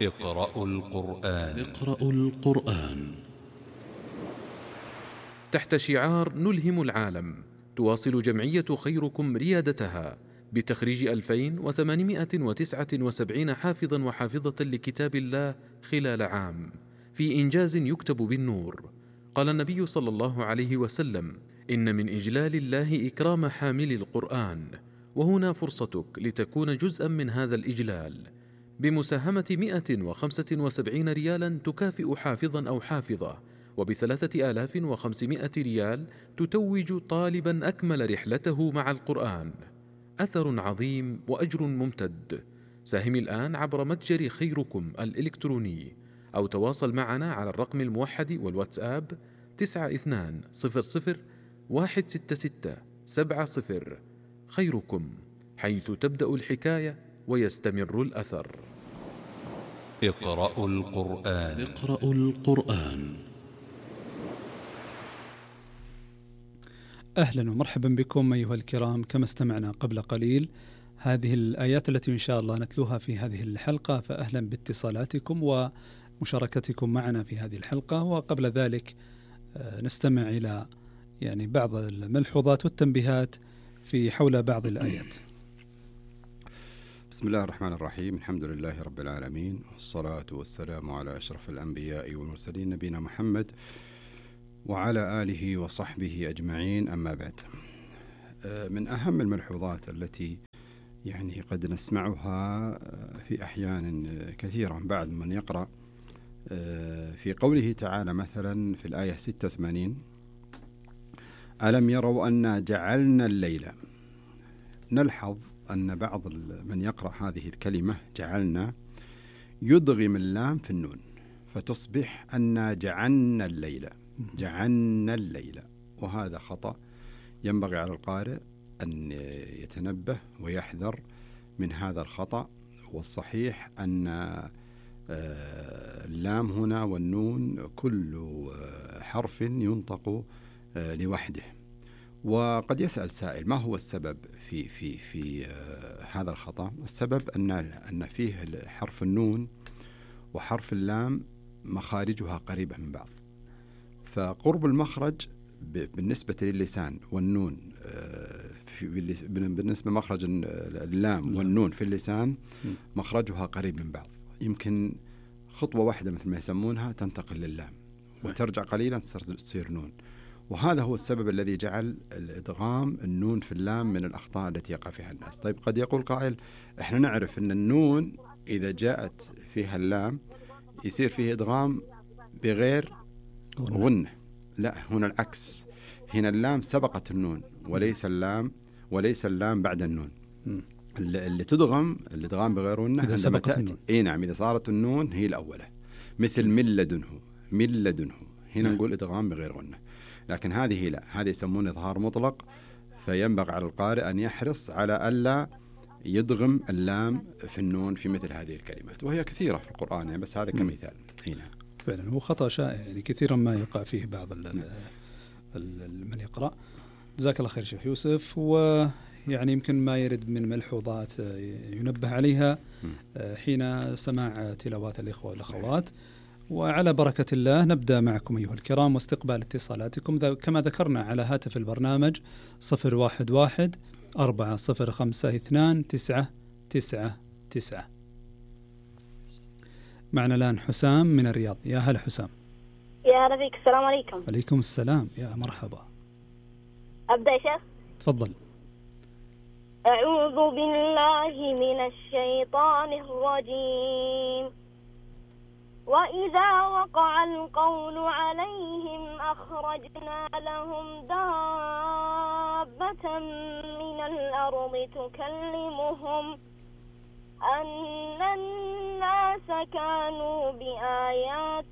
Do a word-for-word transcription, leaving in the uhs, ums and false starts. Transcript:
اقرأوا القرآن. اقرأوا القرآن. تحت شعار نلهم العالم، تواصل جمعية خيركم ريادتها بتخريج ألفين وثمانمائة وتسعة وسبعين حافظا وحافظة لكتاب الله خلال عام، في إنجاز يكتب بالنور. قال النبي صلى الله عليه وسلم: إن من إجلال الله إكرام حامل القرآن، وهنا فرصتك لتكون جزءا من هذا الإجلال بمساهمة مئة وخمسة وسبعين ريالا تكافئ حافظا أو حافظة، وبثلاثة آلاف وخمسمائة ريال تتوج طالبا أكمل رحلته مع القرآن. أثر عظيم وأجر ممتد. ساهم الآن عبر متجر خيركم الإلكتروني، أو تواصل معنا على الرقم الموحد والواتساب تسعة اثنان صفر صفر واحد ستة ستة سبعة صفر. خيركم، حيث تبدأ الحكاية ويستمر الأثر. اقرأوا القرآن. اقرأوا القرآن. أهلا ومرحبا بكم أيها الكرام. كما استمعنا قبل قليل هذه الآيات التي إن شاء الله نتلوها في هذه الحلقة، فأهلا باتصالاتكم ومشاركتكم معنا في هذه الحلقة. وقبل ذلك نستمع إلى يعني بعض الملحوظات والتنبيهات في حول بعض الآيات. بسم الله الرحمن الرحيم. الحمد لله رب العالمين، والصلاة والسلام على أشرف الأنبياء والمرسلين نبينا محمد وعلى آله وصحبه أجمعين. أما بعد، من أهم الملحوظات التي يعني قد نسمعها في أحيان كثيرة بعد من يقرأ في قوله تعالى مثلا في الآية ستة وثمانين: ألم يروا أنا جعلنا الليل. نلحظ أن بعض من يقرأ هذه الكلمة جعلنا يدغم اللام في النون، فتصبح أنا جعلنا الليل، جعلنا الليل، وهذا خطأ. ينبغي على القارئ أن يتنبه ويحذر من هذا الخطأ. والصحيح أن اللام هنا والنون كل حرف ينطق لوحده. وقد يسأل سائل: ما هو السبب في في في هذا الخطأ؟ السبب أن أن فيه حرف النون وحرف اللام مخارجها قريبة من بعض، فقرب المخرج بالنسبة للسان والنون بالنسبة لمخرج اللام والنون في اللسان مخرجها قريب من بعض، يمكن خطوة واحدة مثل ما يسمونها تنتقل لللام وترجع قليلا تصير نون. وهذا هو السبب الذي جعل الإدغام النون في اللام من الأخطاء التي يقع فيها الناس. طيب، قد يقول قائل: إحنا نعرف أن النون إذا جاءت فيها اللام يصير فيه إدغام بغير غنة. لا، هنا العكس، هنا اللام سبقت النون وليس اللام وليس اللام بعد النون. اللي تدغم الإدغام بغير غنة عندما تأتي، إيه نعم، إذا صارت النون هي الأولى، مثل من لدنه، من لدنه، هنا م. نقول إدغام بغير غنة. لكن هذه لا، هذه يسمونه إظهار مطلق. فينبغي على القارئ أن يحرص على ألا يدغم اللام في النون في مثل هذه الكلمات، وهي كثيرة في القرآن يعني، بس هذا كمثال. هنا فعلا هو خطأ شائع يعني كثيرا ما يقع فيه بعض من يقرأ. جزاك الله خير شيخ يوسف. ويعني يمكن ما يرد من ملحوظات ينبه عليها حين سماع تلاوات الإخوة والأخوات. وعلى بركة الله نبدأ معكم أيها الكرام واستقبال اتصالاتكم كما ذكرنا على هاتف البرنامج صفر واحد واحد أربعة صفر خمسة اثنان تسعة تسعة تسعة. معنا الآن حسام من الرياض. يا هلا حسام. يا ربيك، السلام عليكم. عليكم السلام، يا مرحبا. أبدأ يا شيخ؟ تفضل. أعوذ بالله من الشيطان الرجيم. وإذا وقع القول عليهم أخرجنا لهم دابة من الأرض تكلمهم أن الناس كانوا بآياتنا